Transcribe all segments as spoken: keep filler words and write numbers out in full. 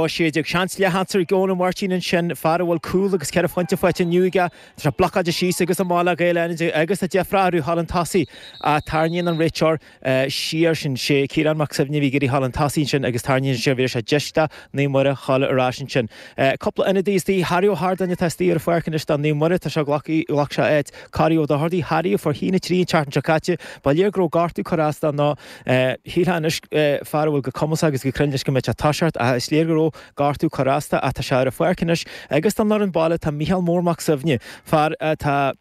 a sé déag. Seans le haimsir ag Eoin Ó Máirtín ansin, fear a bhfuil cúl agus ceithre phointe faighte inniu aige. Tá sé blocáilte síos agus amach le Gaeil Fhánaide agus tá deifir orthu thall an tosaigh. Tarraingíonn an réiteoir siar sin sé Ciarán Mac Suibhne a bhí ag iarraidh thall an tosaigh ansin agus tarraingíonn sé bhí sé deis do Naomh Muire thall ar ais ansin. Cúpla ionadaí istigh, Harry Ó hArdáin atá istigh ar an pháirc anois do Naomh Muire, tá sé ghlac sé áit Corey Ó Dochartaigh, Harry a fuair a haon a trí an tseachtain seo caite. Ba léir go raibh gortú curtha as dó nó shílfeá anois fear a bhfuil go cumasach agus go cruinn leis go mbeadh sé ag toiseacht ach is léir go raibh gortú curtha as dó ach tá sé ar an pháirc anois agus don fhoireann baile tá Mícheál Mór Mac Suibhne, fear atá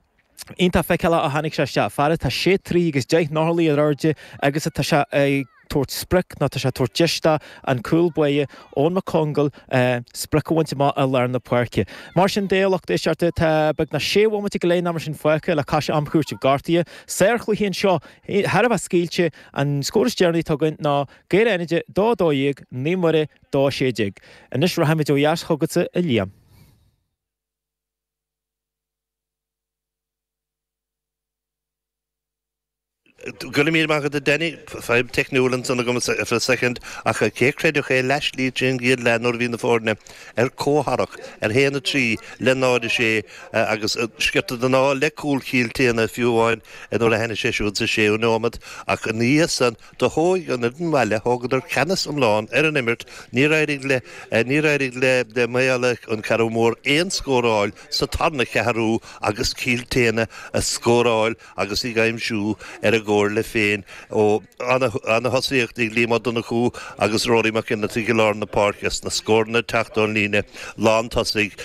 iontach feiceálach ó tháinig sé isteach, fear atá sé troigh agus deich n-orlaí ar airde agus atá sé ag tabhairt sprioc nó tá sé ag tabhairt deis do an cúl báire Eoin Mac Congáil sprioc a bhaint amach i lár na páirce. Mar sin de, a lucht éisteachta, tá beagnach sé bhomaite go leith nó mar sin fágtha le cois am chúitimh gortaithe. Sárchluiche anseo, thar a bheith scaoilte, an scór is deireanaí atá againn ná Gaeil Fhánaide dó a dó dhéag, Naomh Muire dó a sé déag. Anois rachaimid ó dheas chugatsa, a Liam. Go raibh míle maith agat a Danny, fadhb teicniúil ansan agam ar feadh soicind, ach cé a chreidfeadh é leathshlí tríd an gcéad leath nuair a bhí na foirne ar comhtharrac ar haon a trí le náid a sé agus sciorta den ádh le cúl Chill tSéadhna fiú amháin nuair a tháinig sé siúd sa séú nóimeat ach ina dhiaidh san do thóig an fhoireann bhaile, thógadar ceannas iomlán ar an imirt, níor éirigh le níor éirigh le Maigh Eala an Ceathrú Mór aon scór a fháil sa tarna ceathrú agus Cill tSéadhna a scóráil agus ag aimsiú ar a gcomhairle féin ó ana-thosaíocht ag Liam Ó Donnchú agus Rory Mac Fhionnlaoich i lár na páirce sna scóranna ag teacht ón líne lántosaigh,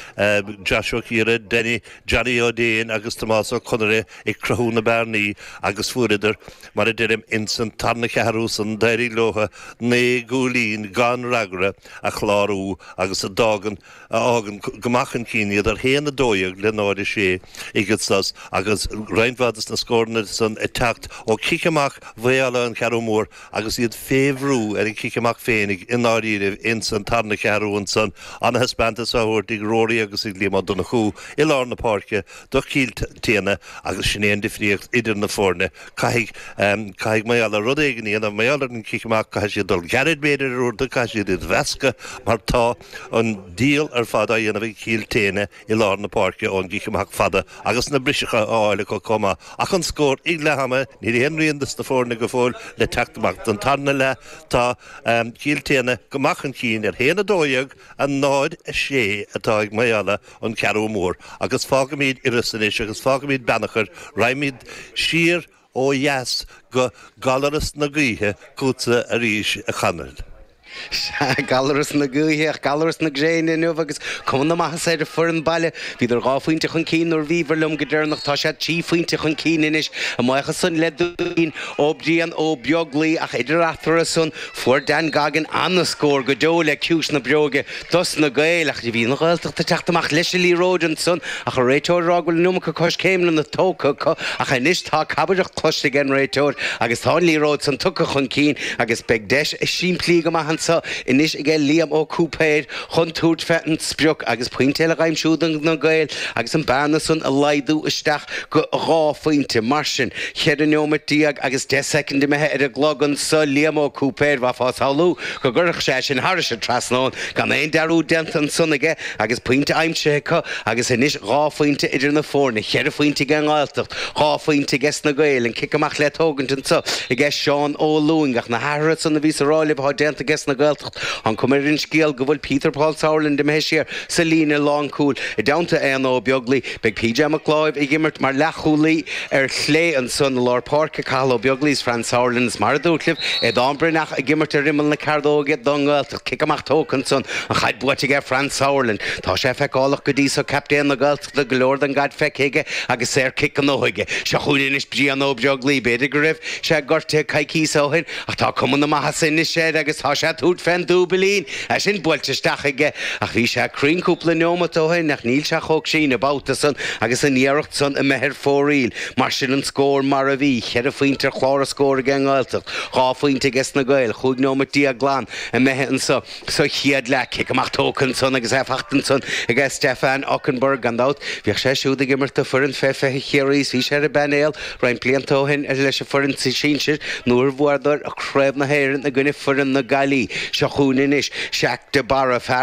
Josh Ó Ciara, Danny Johnny Ó Déin agus Tomás Ó Conaire ag cruthú na bearnaí agus fuaireadar, mar a deirim, ins an tarna ceathrú san d'éirigh leo naoi gcúilín gan fhreagra a chlárú agus a d'fhágann a fhágann go maith chun cinn iad ar haon a dó dhéag le náid a sé ag an sos agus roinnt mhaith de na scóranna san ag teacht ó chic amach Mhaigh Eala an Cheathrú Mór agus iad fé bhrú ar an chic amach féinig i ndáiríribh ins an tarna ceathrú ansan. Ana-thaispeántas á thabhairt ag Rory agus ag Liam Ó Donnchú i lár na páirce do Chill tSéadhna agus sin é an difríocht idir na foirne. Caithfidh, caithfidh Maigh Eala rud éigin a dhéanamh mar gheall ar an chic amach, caithfidh siad dul gairid b'fhéidir ar uaireanta, caithfidh siad iad a mheascadh mar tá an díol ar fad á dhéanamh ag Cill tSéadhna i lár na páirce ón gcic amach fada agus na briseacha á fháil acu chomh maith. Ach an scór ag leath ama, níl aon rian dos na foirne go fóill le teacht amach don tarna leath. Tá Cill tSéadhna go maith chun cinn ar haon a dó dhéag, a náid a sé atá ag Maigh Eala an Ceathrú Mór. Agus fágfaimid Iorras anois agus fágfaimid Beannchar, raghaimid siar ó dheas go Gallaras na Gaoithe chugatsa arís a Chonaill. Sea, Gallaras na gaoithe ach Gallaras na gréine inniu agus cuma na maitheasa ar an foireann baile. Bhíodar dhá phointe chun cinn nuair a bhíobhair liom go deireanach. Tá siad trí phointe chun cinn anois. A mbuíochas san le dúilín ó Brian Ó Beaglaoi ach idir eatarthu san fuair Dan Goggin ana-scór go deo le ciumhais na bréige dos na Gaeil. Ach bhí an Ghaeltacht ag teacht amach leis an liathróid ansan ach an réiteoir ag rá go bhfuil an iomarca coiscéimeanna tógtha acu ach anois tá cabaireacht cloiste ag an réiteoir agus tá an liathróid san tugtha chun cinn agus beidh deis simplí go maith anso anois aige Liam Ó Cúipéir chun tabhairt fé an sprioc agus pointe eile dh'aimsiú do na Gaeil agus an bearna san a laghdú isteach go dhá phointe. Mar sin, cheithre neomat déag agus deich soicind imithe ar an gclog anso, Liam Ó Cúipéir, bheifeá ag samhlú go gcuirfeadh sé sin thairis an trasnán gan aon dearúd déanta ansan aige agus pointe aimsithe acu agus anois dhá phointe idir na foirne, cheithre phointe ag an nGaeltacht, dhá phointe aige sna Gaeil, an cic amach le tógaint anso aige Seán Ó Lúing ach na hathruithe san a bhíos a rá libh atá déanta aige sna Gaeltacht, an cuma ar an scéal go bhfuil Peter Paul Sauerland imithe siar sa líne lánchúil i dteannta Éanna Ó Beaglaoi. Beidh PJ Mac Láimh ag imirt mar leathchúlaí ar chlé ansan i lár páirce, Cathal Ó Beaglaoi is Franz Sauerland is mar a dúirt libh, Aodán Breathnach ag imirt ar imeall na cearnóige don nGaeltacht. Cic amach tógtha ansan, an chaid buaite aige Franz Sauerland. Tá sé feiceálach go dtí so, captaen na Gaeltachta, go leor den gcaid feicthe aige agus saorchic gnóthaithe aige. Seo chugainn anois Brian Ó Beaglaoi. B'fhéidir go raibh sé gortaithe coicíos ó shin ach tá cuma na maitheasa anois air agus tá sé ag tabhairt fén dúbailín. É sin buailte isteach aige ach bhí sé cruinn cúpla neomat ó shin ach níl sé chomh cruinn an babhta san agus an iarracht san imithe ar fóraoil. Mar sin an scór mar a bhí, cheithre phointe ar chlár an scóir ag an nGaeltacht, dhá phointe aige sna Gaeil, chúig neomat déag glan imithe anso sa chéad leath. Cic amach tógtha ansan agus é fachta ansan aige Stefan Okunbor. Gan dabht bhíodh sé siúd ag imirt do foireann fé fiche Chiarraí is bhí sé ar an bpainéal roinnt blianta ó shin leis an foireann sinsir nuair a bhuadar Craobh na hÉireann i gcoinne foireann na Gaillimhe. Seo chugainn anois Seach de Barra fear